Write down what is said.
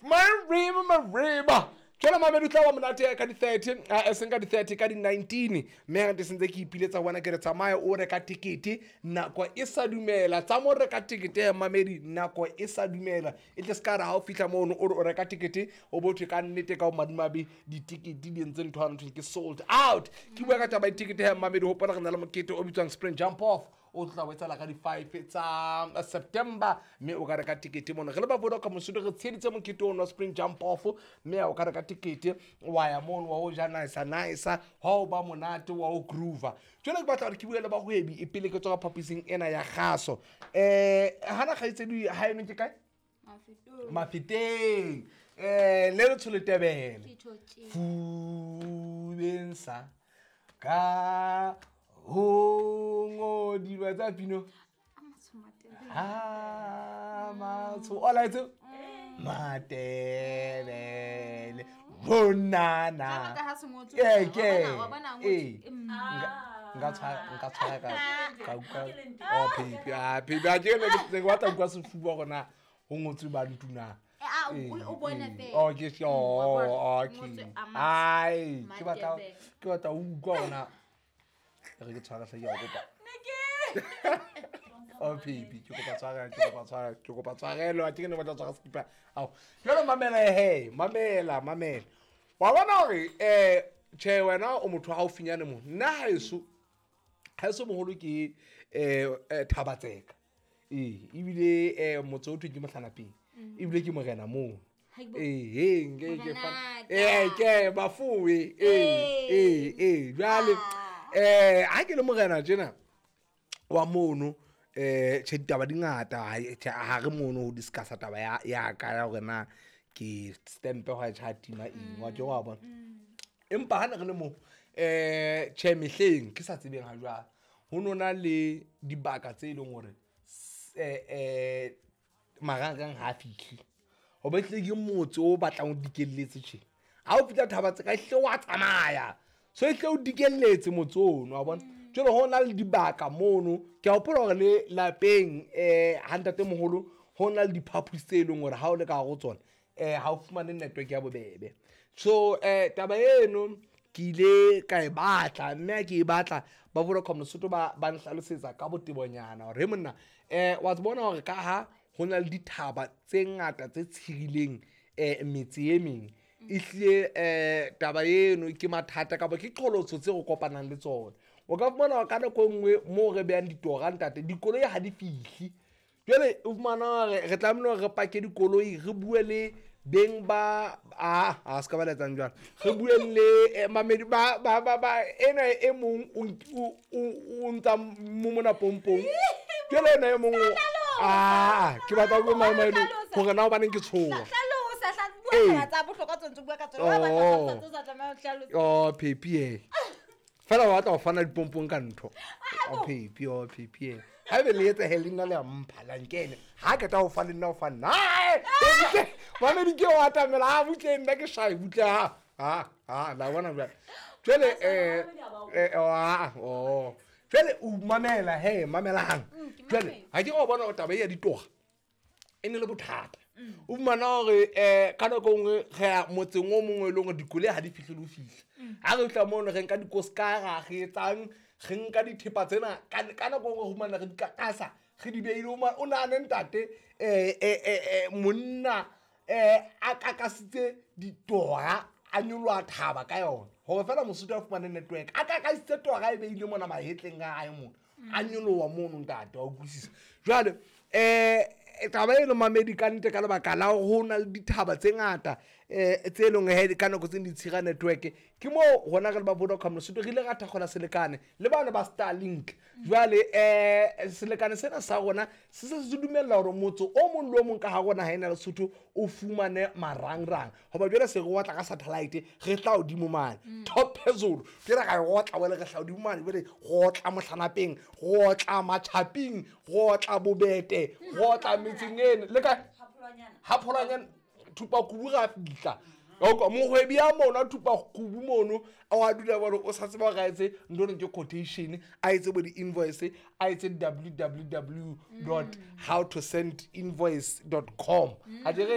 Mariba, Mariba. Jwale mamedi, o tla ba monate ka di-30, e seng ka di-30, ka di-19, mme gante sentse ke ipiletsa go bona ke re tsamaya o reka tekete nako e sa dumela. Tsa mo reka tekete ya mamedi nako e sa dumela, e tle se ka re ga o fitlha mono o re o reka tekete, o bo thwe ka nnete ka o madimabe ditekete di entse ntho ya nthwe ke sold out. Ke bua ka taba ya tekete ya mamedi. Hopola re na le mokete o bitswang Spring Jump Off, o tla o etsala ka di-5 tsa September, mme o ka reka tekete mono. Re le ba Vodacom Mosotho re tsheditse mokete ono wa Spring Jump Off, mme o ka reka tekete wa ya mono wa o ja nice nice, wa o ba monate, wa o groova. Jwale ke batla gore ke bue le bagwebi e pele ke tswa ka phaposing ena ya gaso. Hana kgaitsedi ha eno ke kae? Mafeteng. Le le tsholetebele fubeng sa ka ho ngodilwa tsa pino ha matsho o laetse Matebele bonana. Ee, ke ee, nka tshwara ka utlwa. Oh baby, ah baby, a ke ne ke batla utlwa sefuba gona ho ngotswe bantu na. Oh ke oh okay, ai ke batla ho utlwa gona re ke tshwara hle, ke a kopa. Oh baby, ke kopa tshwarelo, ke kopa tshwarelo, ke kopa tshwarelo, a ke ne batla tshwara skipa ao. Jwale mamela, he mamela, mamela, wa bona hore tjhe, wena o motho wa haufinyane mo. Nna haeso moholo ke Thabatseka, ee, ebile motse o thweng ke Mohlanapeng, ebile ke morena moo. Ee, nke ke ee, ke bafowe. Ee, ee, ee, jwale ha ke le morena tjena wa mono, tjhe, ditaba di ngata. Ha re mono ho discussa taba ya ka ya hore na ke stempe hwa tjha tima eng wa ke wa bona. Empa ha ne re le mo, tjhe, mehleng ke sa tsebeng ha jwale, ho no na le dibaka tse leng hore marangrang ha a fihle, hoba ehlile ke motse o batlang o dikelletse. Tjhe, ha o fihla Thabatseka, ehlile wa tsamaya, so ehlile o dikelletse motse ono, wa bona. Jwale ho na le dibaka mono, ke a hopola hore le lapeng ha ntate moholo ho na le diphaposi tse leng hore ha o le ka hare ho tsona, ha o fumane network ya bobebe. So taba eno ke ile ka e batla, mme ha ke e batla, ba Vodacom Lesotho ba nhlalosetsa ka botebonyana hore he monna, wa bona hore ka ha ho na le dithaba tse ngata tse tshirileng metse e meng, ehlile taba eno ke mathata kapa ke qholotso tse re kopanang le tsona. O ka fumana hore ka nako e nngwe moo re behang ditora, ntate, dikoloi ha di fihle. Jwale o fumana hore re tlamehile hore re pake dikoloi, re bue le beng ba a se ka ba letsang jwalo, re bue le mamedi ba ena e mong o ntsa mo mona pompong. Jwale ena e mong a ke batla ho bua maemo hore na hobaneng ke tshoha. Oh Pepi, e fela wa batla ho fana dipompong ka ntho. Oh Pepi, oh Pepi, e haebe le etsa he le nna le a mpha la nkene ha ke tla ho fa le nna ho fa nna mamedi ke o atamela ha butle nna ke shy butle ha la bona jwale. Jwale oh jwale o mamela, he mamelang. Jwale ha ke go bona o taba e ya ditoga e ne le bothata. O fumana hore ka nako e nngwe re ya motseng o mongwe e leng hore dikoloi ha di fihle le ho fihla. Ha re fihla mono, re nka dikoskara, re etsang, re nka dithepa tsena ka nako e nngwe re fumana re di kakasa, re di beile. O nahane ntate, monna a kakasitse ditora, a nyoloha thaba ka yona hore fela Mosotho a fumane network. A kakasitse tora e beile mona mahetleng a hae mona, a nyoloha mono, ntate, wa utlwisisa. Jwale taba eno mamedi, ka nnete, ka lebaka la ho na le dithaba tse ngata tse leng he ka nako tse di tshira network, ke moo rona re le ba Vodacom Lesotho re ile ra thakgola selekane le bane ba Starlink. Jwale selekane sena sa rona se se se dumella hore motse o mong le o mong ka ha rona ha ena Lesotho o fumane marangrang, hoba jwale se re otla ka satellite, re tla hodimo mane top phezulu. Jwale ra e otla, wele re tla hodimo mane, jwale re otla Mohlanapeng, re otla Matjhaping, re otla Bobete, re otla metseng eno le kae Hapholwanyana, Thupakubu ra fihla. Mohwebi ya mono a Thupakubu mono a dula bone o sa tseba hore a etse ntho eno ke quotation, a etse bo di-invoice, a etse www dot how to send invoice dot com a jere.